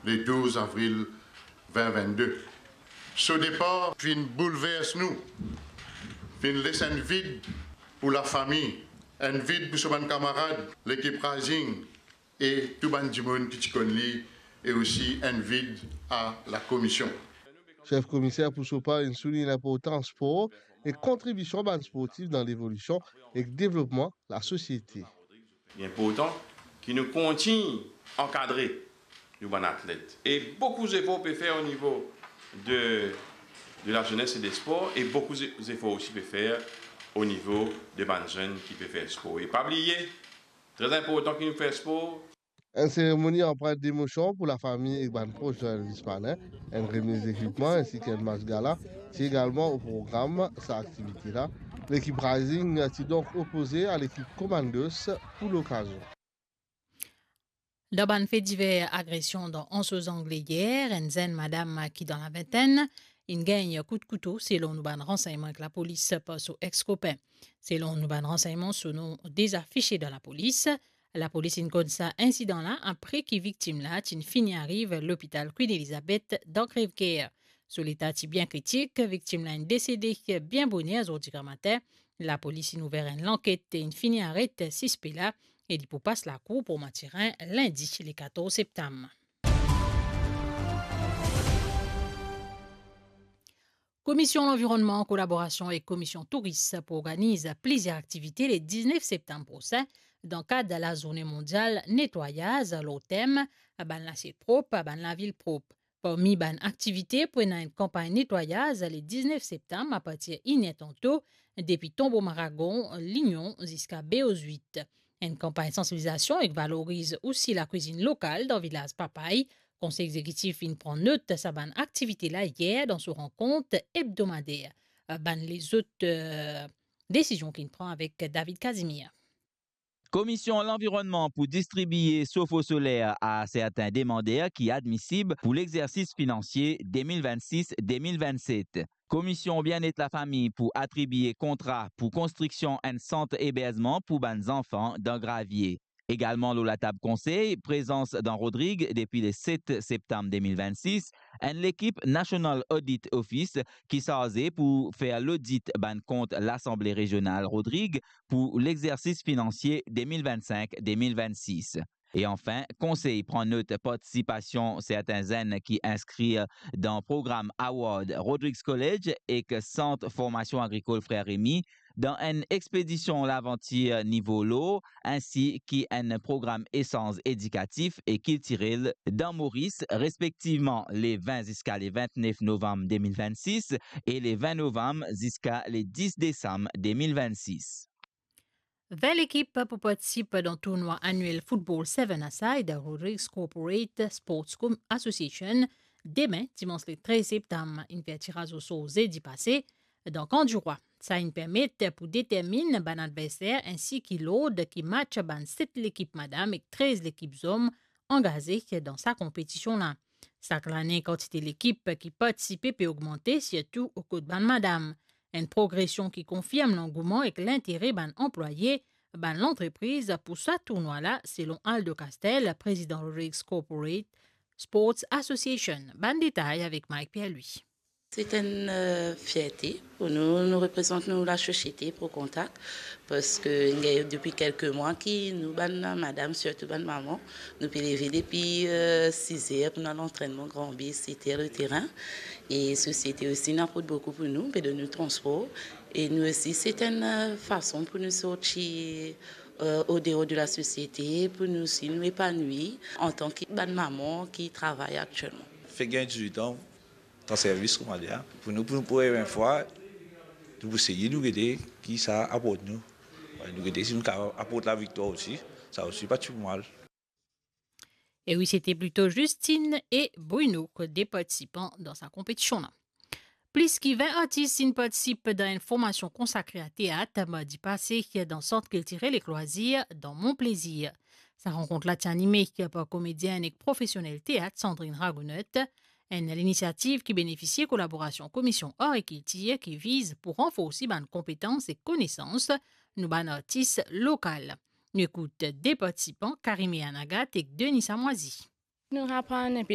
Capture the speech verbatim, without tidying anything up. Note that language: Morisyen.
le douz avril vin vinn-de. So depar finn boulvers nou, finn les enn vid pou lafami, enn vid pou so bann kamarad, lekip Rising e tou bann dimoun ki ti konn li, e osi enn vid a lakomision. Sef komiser pou so par inn soulign linportans spor e kontribision bann sportif dan levolision ek devlopman lasosiete. Li inportan ki nou kontign ankadre nou bann atlet. E boukou zefor pe fer o nivo de, de lazenes e de spor, e boukou ze-, zefor osi pe fer o nivo de bann zenn ki pe fer spor. E pa bliye, tre inportan ki nou fer spor. Enn seremoni anprint demosion pou lafami ek bann pros Joël Vismanin, enn remiz lekipman, ensi ki enn match gala, ti egalman o program sa aktivite la. Lekip Rising ti donk opoze a lekip Commandos pou lokazion. Dan bann fe diver, agresion dan Anse aux Anglais yer, enn zenn madam ki dan lavintenn, inn gagn kout kouto, selon nou bann ransegnman ek lapolis par so ex-kopin. Selon nou bann ransegnman, so nom deza afisie dan lapolis. Lapolis inn konn sa insidan la apre ki viktim la ti fini ariv lopital Queen Elizabeth dan Crèvecoeur. So leta ti bien kritik, viktim la inn desede bien boner zordi gramatin. Lapolis inn ouver enn lanket e inn fini aret sispe la, e li pou pas lakour pou Matirin lindi le katorz septam. Komision Lanvironnman, an kolaborasion ek Komision Touris, pou organiz plizier aktivite le diznef septam prosin, dan kad lazourne mondial netwayaz, lor tem bann lasiet prop, bann lavil prop. Parmi bann aktivite, pou ena enn kanpagn netwayaz le diznef septam apartir inn er tanto, depi Tonbo Maragon, Lignon, ziska Beau Huit. Enn kanpagn sansibilizasion ek valoriz osi lakwizinn lokal dan vilaz Papay. Konsey Egzekitif inn pran not sa bann aktivite la yer dan so rankont ebdomader. Bann lezot, eh, desizion ki inn pran avek David Casimir. Komision Lanvironnman pou distribie sofo soler a sertin demander ki admisib pou lexersis finansie de mil vennsis de mil vennset. Komision Bienet Lafami pou atribie kontra pou konstriksion enn sant eberzman pou bann zanfan dan Gravie. Egalman lor latab konsey, prezans dan Rodrig depi le set septam de mil vennsis, enn lekip National Audit Office ki sarze pou fer lodit bann kont Lasanble Rezional Rodrig pou lexersis finansie de mil vennsink de mil vennsis. E anfin, konsey pran not partisipasion sertin zenn ki inskrir dan program Award Rodrigues College ek Sant Formasion Agrikol Frer Remy dan enn expedision lavantir nivo lor, insi ki enn program esanz edikatif e kiltirel dan Moris, respektivman le vin ziska le vintnef novam de mil vennsis e le vin novam ziska le dis desam de mil vennsis. Vin lekip pou partisip dan tournwa aniel football seven-a-side Rodrigues Corporate Sports Com-, Association, demin, dimans le trez septam. Inn fer tiraz osor zedi pase dan Kan Dirwa. Sa inn permet pou determinn bann adverser insi ki lord ki match bann set lekip madam ek trez lekip zom angaze dan sa konpetision la. Sak lane, kantite lekip ki partisipe pe ogmante, sirtou kot bann madam. Enn progresion ki konfirm langouman ek lintere bann anplwaye, bann lantrepriz pou sa tournwa la, selon Aldo Castel, prezidan Rodrigues Corporate Sports Association. Bann detay avek Mike Pierre-Louis. C'est une, euh, fierté pour nous. Nous représentons, nous, la société Pro Contact, parce que, euh, depuis quelques mois, qui nous, bann madam, surtout bann maman, nou pe leve depi, euh, siz'er pou nou al antrenman Gran Be, seter le terin. E sosiete osi inn aport boukou pou nou, pe donn nou transpor. E nou osi, se enn, euh, fason pou nou sorti, euh, o deor de la sosiete, pou nou osi nou epanouir antan ki bann maman ki travay aktielman. Fek gagn dizuit an, dan servis, kouma dir, pou nou, pou nou, pou premie fwa, nou pou seye, nou gete ki sa aport nou. Wi, nou gete si nou kapav aport laviktwar osi, sa osi pa ti pou mal. E wi, se te plito Justine e Bruno kot de partisipan dan sa konpetision la. Plis ki vin artis inn partisip dan enn formasion konsakre a teat mardi pase dan Sant Kiltirel ek Lwazir dan Mont Plaisir. Sa rankont la ti anime par komedienn ek profesionel teat Sandrine Ragonot, enn linisiativ ki benefisie kolaborasion Komision Ar e Kiltir ki viz pou ranforsi bann konpetans ek konesans nou bann artis lokal. Nou ekout de partisipan, Karime Anagat ek Denisa Mwazi. Nou aprann enpe